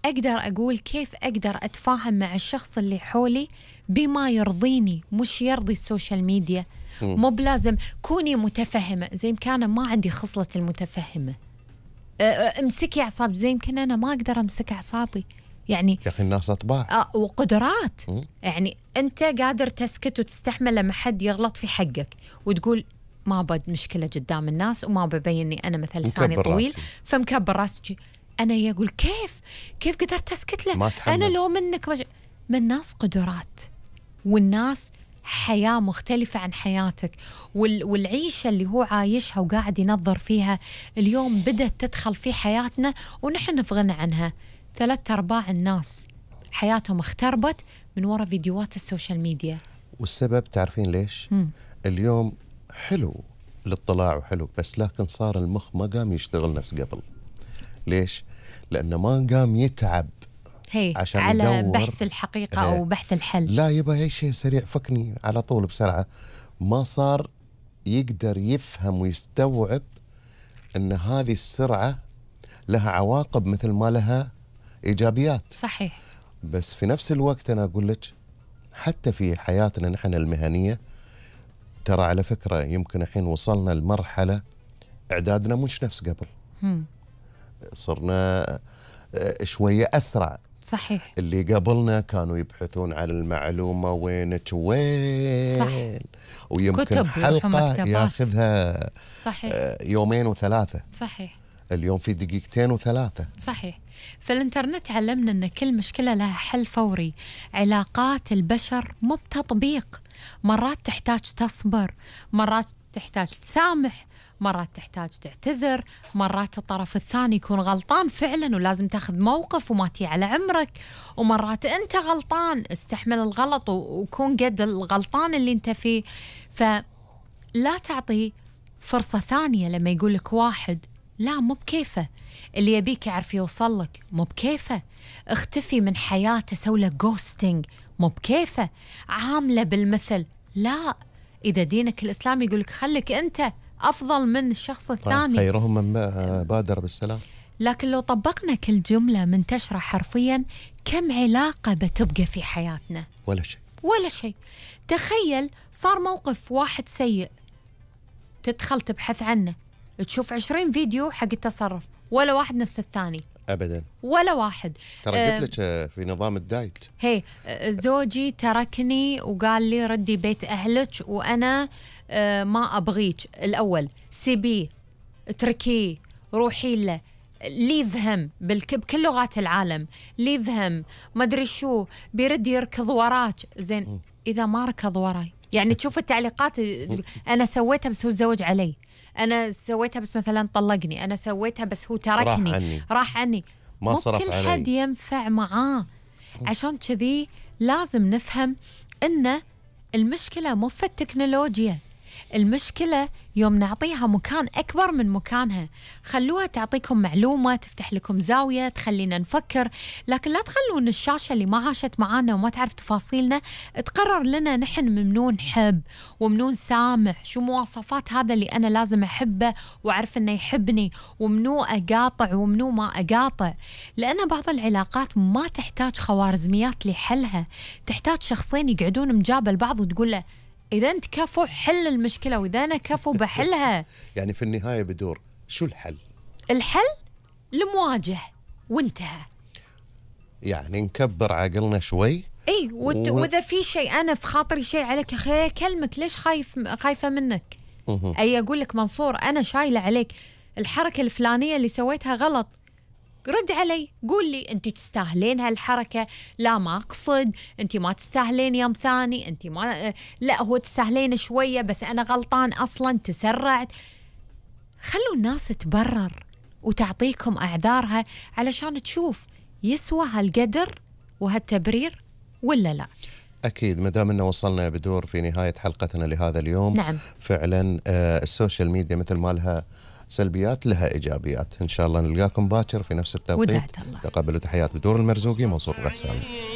أقدر أقول كيف أقدر أتفاهم مع الشخص اللي حولي بما يرضيني مش يرضي السوشيال ميديا. مو بلازم كوني متفهمة، زي يمكن أنا ما عندي خصلة المتفهمة. امسكي أعصاب، زي يمكن أنا ما أقدر أمسك أعصابي. يعني يا أخي الناس أطباع وقدرات. يعني أنت قادر تسكت وتستحمل لما حد يغلط في حقك وتقول ما بد مشكلة قدام الناس وما ببيني أنا مثل لساني طويل راسي. فمكبر راسي. أنا يقول كيف قدرت أسكت له؟ أنا لو منك من الناس قدرات، والناس حياة مختلفة عن حياتك، والعيشة اللي هو عايشها وقاعد ينظر فيها اليوم بدأت تدخل في حياتنا ونحن في غنى عنها. 3/4 الناس حياتهم اختربت من وراء فيديوهات السوشيال ميديا. والسبب تعرفين ليش؟ اليوم حلو الاطلاع وحلو، بس لكن صار المخ ما قام يشتغل نفس قبل. ليش؟ لأنه ما قام يتعب عشان على يدور بحث الحقيقة أو بحث الحل. لا يبغى أي شيء سريع، فكني على طول بسرعة. ما صار يقدر يفهم ويستوعب أن هذه السرعة لها عواقب مثل ما لها إيجابيات. صحيح. بس في نفس الوقت أنا أقول لك حتى في حياتنا نحن المهنية، ترى على فكرة يمكن الحين وصلنا لمرحلة إعدادنا مش نفس قبل. صرنا شوية أسرع. صحيح. اللي قبلنا كانوا يبحثون عن المعلومة وين ويمكن حلقة ياخذها صحيح 2 و3. صحيح. اليوم في 2 و3. صحيح. فالإنترنت علمنا أن كل مشكلة لها حل فوري. علاقات البشر مو بتطبيق، مرات تحتاج تصبر، مرات تحتاج تسامح، مرات تحتاج تعتذر، مرات الطرف الثاني يكون غلطان فعلا ولازم تاخذ موقف وما تي على عمرك، ومرات أنت غلطان استحمل الغلط وكون قد الغلطان اللي أنت فيه. فلا تعطي فرصة ثانية لما يقولك واحد لا مو بكيفه، اللي يبيك يعرف يوصلك مو بكيفه، اختفي من حياته سوله جوستينج مو بكيفه، عامله بالمثل. لا، إذا دينك الإسلامي يقولك خليك أنت أفضل من الشخص الثاني، خيرهم من بادر بالسلام. لكن لو طبقنا كل جملة منتشرة حرفيا، كم علاقة بتبقى في حياتنا؟ ولا شيء. تخيل صار موقف واحد سيء، تدخل تبحث عنه، تشوف 20 فيديو حق التصرف، ولا واحد نفس الثاني أبدا، ولا واحد. ترى قلت لك في نظام الدايت، زوجي تركني وقال لي ردي بيت أهلك وأنا ما أبغيك. الأول سيبيه، اتركيه، روحي له، ليفهم بكل لغات العالم، ليفهم ما أدري شو، بيرد يركض وراك. زين إذا ما ركض وراي، يعني تشوف التعليقات، أنا سويتها بس هو تزوج علي، أنا سويتها بس مثلا طلقني، أنا سويتها بس هو تركني، راح عني. ما صرف كل علي. حد ينفع معاه. عشان كذي لازم نفهم إن المشكلة مو في التكنولوجيا، المشكلة يوم نعطيها مكان أكبر من مكانها. خلوها تعطيكم معلومة، تفتح لكم زاوية، تخلينا نفكر، لكن لا تخلون الشاشة اللي ما عاشت معانا وما تعرف تفاصيلنا تقرر لنا نحن ممنوع نحب وممنوع سامح، شو مواصفات هذا اللي أنا لازم أحبه وأعرف أنه يحبني، وممنوع أقاطع وممنوع ما أقاطع. لأن بعض العلاقات ما تحتاج خوارزميات لحلها، تحتاج شخصين يقعدون مجابل بعض وتقول له إذا أنت كفو حل المشكلة وإذا أنا كفو بحلها. يعني في النهاية بدور شو الحل؟ الحل المواجه وانتهى. يعني نكبر عقلنا شوي. اي وإذا في شيء أنا في خاطري شيء عليك، أخي أكلمك ليش خايفة منك؟ أي أقول لك منصور أنا شايلة عليك الحركة الفلانية اللي سويتها غلط، رد علي قول لي أنت تستاهلين هالحركة، لا ما أقصد، أنت ما تستاهلين يوم ثاني، أنت ما لا هو تستاهلين شوية بس أنا غلطان أصلا تسرعت. خلوا الناس تبرر وتعطيكم أعذارها علشان تشوف يسوى هالقدر وهالتبرير ولا لا. أكيد ما دام إنه وصلنا بدور في نهاية حلقتنا لهذا اليوم. نعم. فعلا السوشيال ميديا مثل ما لها سلبيات لها إيجابيات. إن شاء الله نلقاكم باكر في نفس التوقيت. ودعت الله. تقبلوا تحيات بدور المرزوقي منصور غسان.